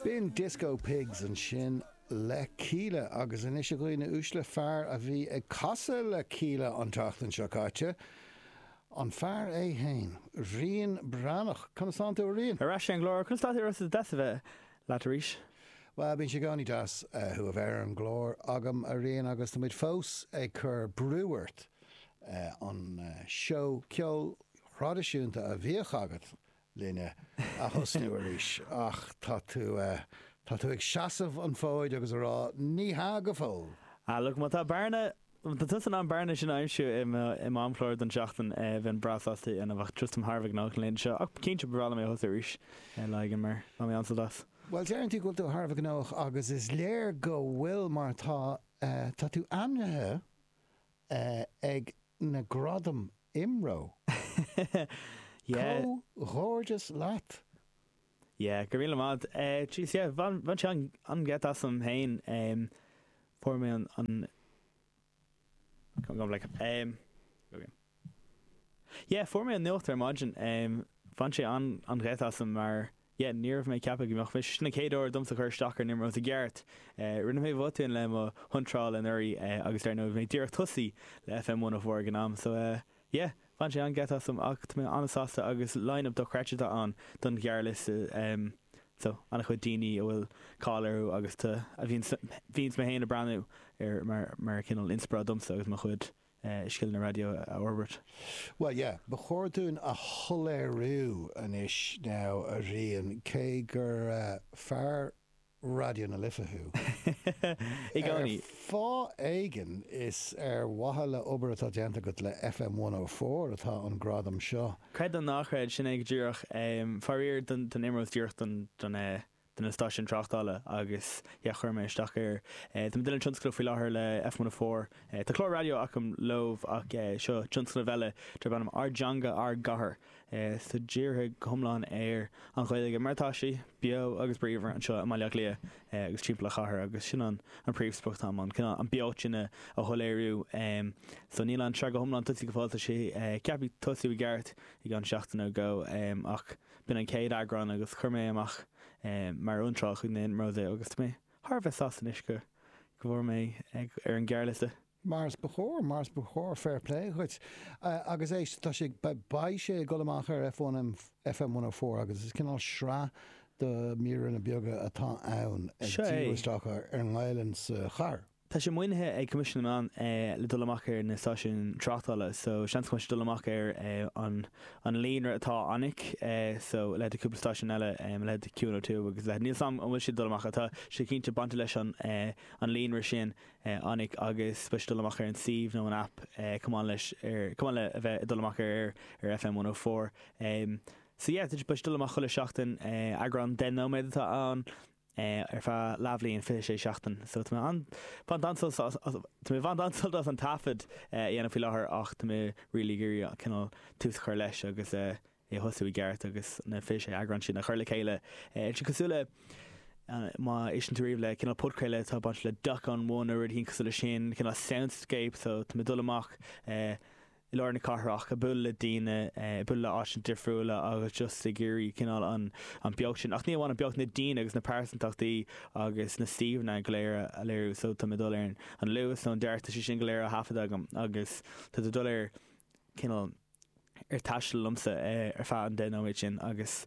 B'in Disco Pigs ansin le Kíla agus anois a dhaoine uaisle, fear a bhí ag casadh le Kíla an tseachtain seo caite, an fear é fhéin, Rian Breathnach. Conas tánn tú a Riain? Ar ais ar an gclár, conas tá tú a Rossa, is deas a bheith leat arís. Bhuel, bíonn sé i gcónaí deas thú a bheith ar an gclár agam, a Riain, agus tá muid fós ag cur brú ort an seó ceoil thraidisiúnta a bhíodh agat linne a thosnú arís ach tá tú, tá tú ag seasamh an fhóid agus a rá ní hea go fóill. Ah look, má tá bearna, má tá tusa in ann bearna sin a aimsiú i m'amchlár don tseachtain, bheinn breá sásta é a dhéanamh ach just táim thar a bheith gnóthach na laethanta seo ach cinnte ba bhreá liom é a thosú arís lá éigin mar bhain mé an-sult as. Bhuel, deireann tú go bhfuil tú thar a bheith gnóthach agus is léir go bhfuil mar tá, tá tú ainmnithe ag na Gradaim IMRO. Yeah. Comhghairdeas leat! Yeah, go raibh míle maith agat. Jeez, yeah, bhain sé an-gheit asam féin. Fuair mé an, an, go, okay. Yeah, fuair mé an nuacht ar maidin. Bhain sé an-gheit asam mar, yeah, ní raibh mé ag ceapadh go mbeadh mé, sin an chéad uair domsa cur isteach ar an IMROs i gceart. Rinne mé botún le mo hiontráil anuraidh agus dar ndóigh bhí mé díreach tosaí le FM 104 ag an am so yeah, bhain sé an-gheit asam ach tá mé an-sásta agus line-up dochreidte atá ann don ghearrliosta so an-chuid daoine a bhfuil cáil orthu agus tá, a bhíonns, bhíonns mé féin ag breathnú ar mar, mar cineál inspioráid domsa agus mo chuid. scileanna raidió a fhorbairt. Bhuel, yeah, ba chóir dúinn a shoiléiriú anois now, a Riain, cé gur fear Raidió na Life thú, I gcónaí. Ar fáth éigin, is ar mhaithe le obair atá déanta agat le FM 104 atá an gradam seo. Creid nó ná creid, sin é go díreach. Faraor don IMROs díreach don do na stáisiúin tráchtála agus yeah chuir mé isteach air. Tá mé ag déanamh tionscadal faoi láthair le FM104. Tá clár raidió agam leo ach seo tionscnamh eile darb ainm Ár dTeanga Ár gCathair. So dírithe go hiomlán ar an Ghaeilge mar atá sí, beo agus bríomhar anseo i mBaile Átha Cliath agus timpeall an chathair agus sin an an príomhsprioc atá agam, an cineál an beocht sin a shoiléiriú. So níl an tsraith go hiomlán tosaithe go fóill, tá sé ceaptha tosú i gceart i gceann seachtain nó dhó ach B'in an chéad eagrán agus chuir mé amach mar iontráil chuig na IMROs é agus tá mé thar a bheith sásta anois go go bhfuair mé ar an ghearrliosta. Mar is ba chóir, mar is ba chóir, fair play dhuit. Agus éist, tá sé, beidh sé ag dul amach ar F1, FM 104 agus is cineál sraith de mhíreanna beaga atá ann ag díriú isteach ar an nGaelainn sa chathair. Tá sé maoinithe ag Coimisiún na Meán le dul amach ar na stáisiúin tráchtála so seans go mbeidh sé dul amach ar an an líonra atá anic so leithéid cúpla stáisiún eile leithéid Q102 agus leithéid níl 's a'm an bhfuil siad dul amach ach tá sé cinnte bainte leis an an líonra sin anic agus beidh sé dul amach ar an suíomh nó an app chomh maith leis ar chomh maith le a bheith ag dul amach ar ar FM 104 so yeah beidh sé dul amach chuile seachtain eagrán 10 nóiméad atá ann. ar feadh leathbhliain, 26 seachtain. So tá mé ag baint an-sult as, tá mé ag baint an-sult as an taifead a dhéanamh faoi láthair ach tá mé really ag iarraidh cineál tús a chur leis agus é a thosú i gceart agus na 26 eagrán sin a chur le chéile. Tá sé cosúil le, má éisteann tú riamh le cineál podchraoladh atá bainte le Doc on One nó rud éicint cosúil leis sin, cineál soundscape, so tá mé ag dul amach i lár na cathrach, ag bualadh le daoine, ag bualadh le áiteanna difriúla agus just ag iarraidh cineál an an beocht sin, ach ní amháin an beocht, na daoine agus na pearsantachtaí agus na suíomhanna go léir a léiriú. So tá mé ag dul ar an Luas nó an Dart, tá sé sin go léir á thaifeadadh agam agus tá tú ag dul ar cineál ar taisteal liomsa ar feadh an 10 nóiméad sin agus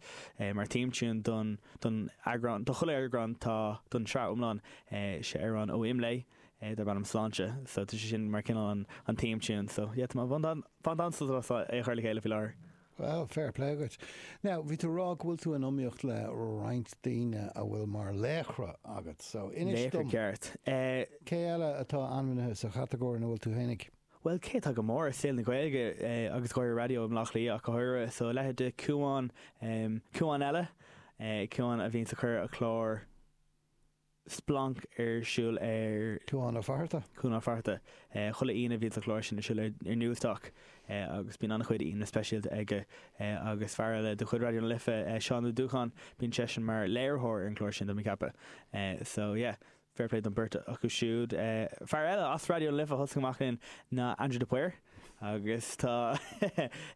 mar theme tune don don eagrán, do chuile eagrán tá, don tsraith iomlán, sé amhrán ó Imlé. darb ainm Sláinte. So tá sé sin mar cineál an an theme tune. So yeah, tá mé ag baint an-sult as é a chur le chéile faoi láthair. Well, fair play dhuit. Now, bhí tú ag rá go bhfuil tú in iomaíocht le roinnt daoine a bhfuil mar laochra agat. So, inis Laochra dom, ceart. cé eile atá ainmnithe sa chatagóir ina bhfuil tú fhéinig? Bhuel, cé atá go mór i saol na Gaeilge agus go háirithe raidió i mBleá Cliath ach go háirithe, so a leithéid de Cuán, Cuán eile, Cuán a bhíonns ag cur a chlár, Splanc ar siúl ar. Cuán Ó Fatharta. Cuán Ó Fatharta. Chuile Aoine bhíonns an clár sin ar siúl ar Newstalk agus bíonn an-chuid aíonna speisialta aige agus fear eile de chuid Raidió na Life, Seán Ó Dúcháin, bíonn seisean mar léiritheoir ar an gclár sin, tá mé ag ceapadh. So yeah, fair play don beirt acu siúd. Fear eile as Raidió na Life a thosaigh amach linn ná Andrew de Paor. Agus tá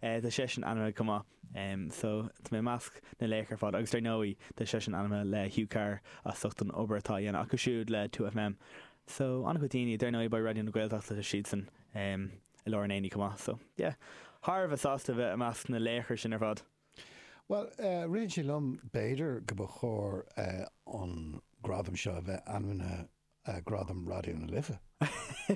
tá seisean ainmnithe chomh maith. So tá mé i measc na laochra ar fad agus dar ndóigh tá seisean ainmnithe le Hugh Carr as ucht an obair atá á dhéanamh acu siúd le 2FM. So an-chuid daoine, dar ndóigh beidh Raidió na Gaeltachta tá siadsan i lár an aonaigh chomh maith. So yeah, thar a bheith sásta a bheith i measc na laochra sin ar fad. Bhuel, ritheann sé liom b'fhéidir go ba chóir an gradam seo a bheith ainmnithe Gradam Raidió na Life.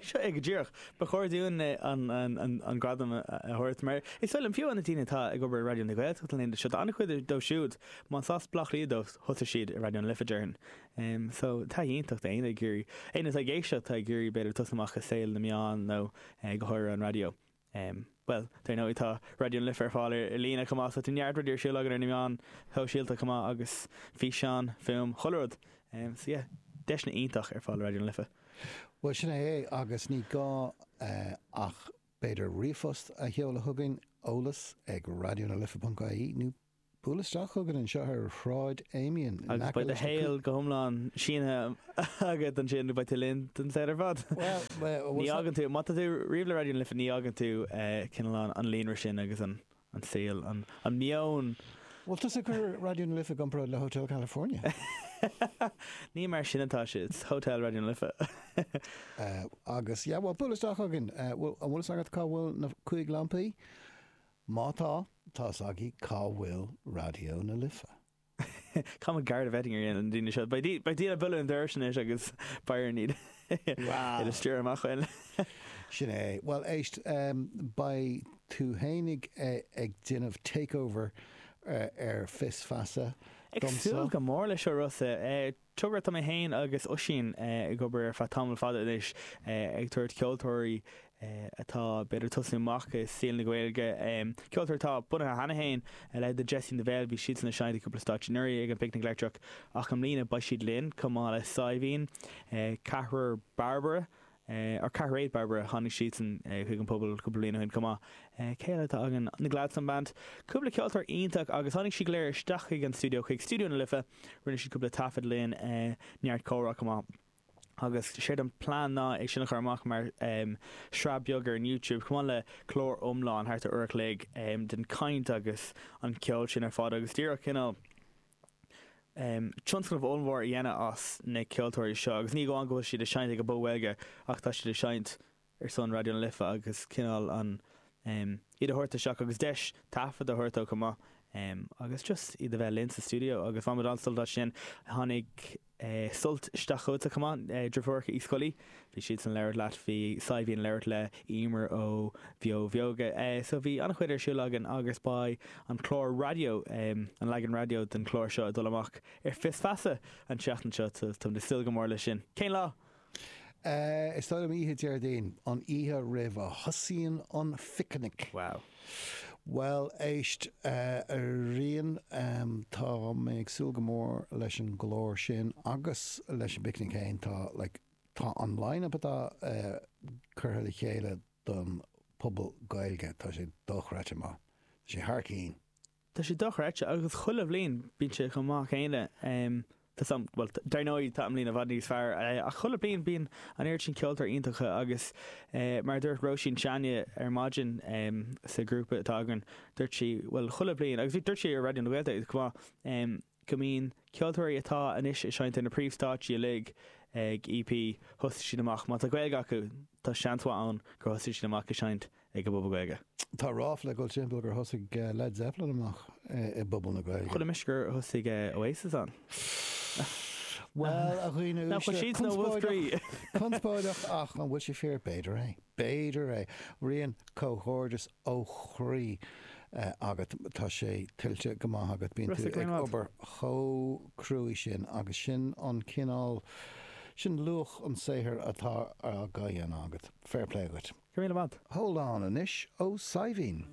Seo é go díreach. Ba chóir dúinn an gradam a thabhairt mar is dóigh liom, fiú na daoine atá ag obair i Raidió na Gaeltachta na laethanta seo, tá an-chuid dóibh siúd, más as Baile Átha Cliath dóibh, thosaigh siad i Raidió na Life, déarfainn. So, taithí iontach d'éinne ag iarraidh, éinne atá ag éisteacht atá ag iarraidh b'fhéidir tosú amach i saol na meán nó go háirithe an raidió. Bhuel, dar ndóigh tá Raidió na Life ar fáil ar líne chomh maith so tá neart rudaí ar siúl againn ar na meáin shóisialta chomh maith agus físeán, fuaim, chuile rud. So yeah, deiseanna iontach ar fáil le Raidió na Life. Bhuel, sin é é agus ní gá ach b'fhéidir ríomhphost a sheoladh chugainn, eolas ag raidionalife.ie nó Buail isteach chugainn anseo ar Shráid Amiens in Agus aice beidh do leis na shaol go hiomlán sínithe agat ansin, beidh tú linn don saol ar fad. Bhuel, bhuel, Ní fhágann tú, má tá tú riamh le Raidió na Life, ní fhágann tú cineál an an líonra sin agus an an saol, an an meon. Bhfuil tusa ag cur Raidió na Life i gcomparáid le Hotel California? Ní mar sin atá sé, it's Hotel Raidió na Life. Agus, yeah, bhuel, buail isteach chugainn. Bhfuil, an bhfuil fhios agat cá bhfuil na cúig lampaí? Má tá, tá's agaibh cá bhfuil Raidió na Life. Caithfidh muid Garda vetting a dhéanamh ar na daoine seo. Beidh daoine ag bualadh an dorais anois agus beidh orainn iad a stiúradh amach uainn. Sin é. Bhuel, éist, beidh tú fhéinig ag déanamh takeover ar Fios Feasa Ag domsa. súil go mór leis seo, Rossa. Togra atá mé féin agus Oisín ag obair ar feadh tamall fada anois, ag tabhairt ceoltóirí atá b'fhéidir tosnú amach i saol na Gaeilge, ceoltóirí atá bunaithe cheana féin, a leithéid de Jessie and the Veil, bhí siadsan ag seinnt i gcúpla stáitse anuraidh ag an bPicnic Leictreach ach i mbliana beidh siad linn chomh maith le Saidhbhín, Ceathrar Bairbre, or Ceathairéad Bairbre, tháinig siadsan chuig an Phuball cúpla bliain ó shin chomh maith. Cé eile atá againn? Na Gladstone Band. Cúpla ceoltóir iontach agus tháinig siad go léir isteach chuig an stiúideo, chuig Stiúideo na Life, rinne siad cúpla taifead linn, neart comhrá chomh maith. Agus séard an plean ná é sin a chur amach mar shraith beag ar an YouTube, chomh maith le clár iomlán thart ar uair a chloig den chaint agus an ceol sin ar fad agus díreach cineál tionscnamh ollmhór a dhéanamh as na ceoltóirí seo agus ní amháin go bhfuil siad ag seinnt ag an bPuball Gaeilge ach tá siad ag seinnt ar son Raidió na Life agus cineál an iad a thabhairt isteach agus deis taifead a thabhairt dóibh chomh maith agus just iad a bheith linn sa stiúideo agus bhain muid an-sult as sin. Tháinig Sult isteach chugatsa chomh maith, deirfiúracha Uí Scolaí, bhí siadsan ag labhairt leat, bhí Saidhbhín ag labhairt le Emer ó Bheo Bheoga. So bhí an-chuid ar siúl againn agus beidh an clár raidió, an leagan raidió den chlár seo ag dul amach ar Fios Feasa an tseachtain seo, so táimid ag súil go mór leis sin. Cén lá? Is dóigh liom oíche Déardaoin, an oíche roimh a thosaíonn an phicnic. Wow. Bhuel, éist, a Rían, tá mé ag súil go mór leis an gclár sin agus leis an bpicnic féin. Tá, like, tá an line-up atá curtha le chéile don Phuball Gaeilge, tá sé dochreidte maith. Tá sé thar cinn. Tá sé dochreidte agus chuile bhliain bíonn sé chomh maith céanna. Tá 's a'm, bhuel, dar ndóigh tá i mbliana i bhfad níos fearr ach chuile bliain bíonn an oiread sin ceoltóirí iontacha agus mar a dúirt Róisín Seánie ar maidin sa ghrúpa atá againn, dúirt sí, bhuel, chuile bhliain, agus bhí, dúirt sí ar Raidió na Gaeltachta chomh maith, go mbíonn ceoltóirí atá anois ag seinnt ar na príomhstáitsí uilig ag EP, thosaigh siad amach, má tá Gaeilge acu, tá seans mhaith ann gur thosaigh siad amach ag seinnt ag an bPuball Gaeilge. Tá ráfla ag dul timpeall gur thosaigh Led Zeppelin amach i bPuball na Gaeilge. Chuala mise gur thosaigh Oasis ann. Bhuel, a dhaoine uaisle, conspóideach, conspóideach ach an bhfuil sé fíor? B'fhéidir é. B'fhéidir é. Rian, comhghairdeas ó chroí agat. Tá sé tuillte go maith agat. Bíonn tú ag obair chomh cruaidh sin agus sin an cineál, sin luach an saothair atá á dhéanamh agat. Fair play dhuit. Go raibh míle maith. Hold On anois ó Saidhbhín.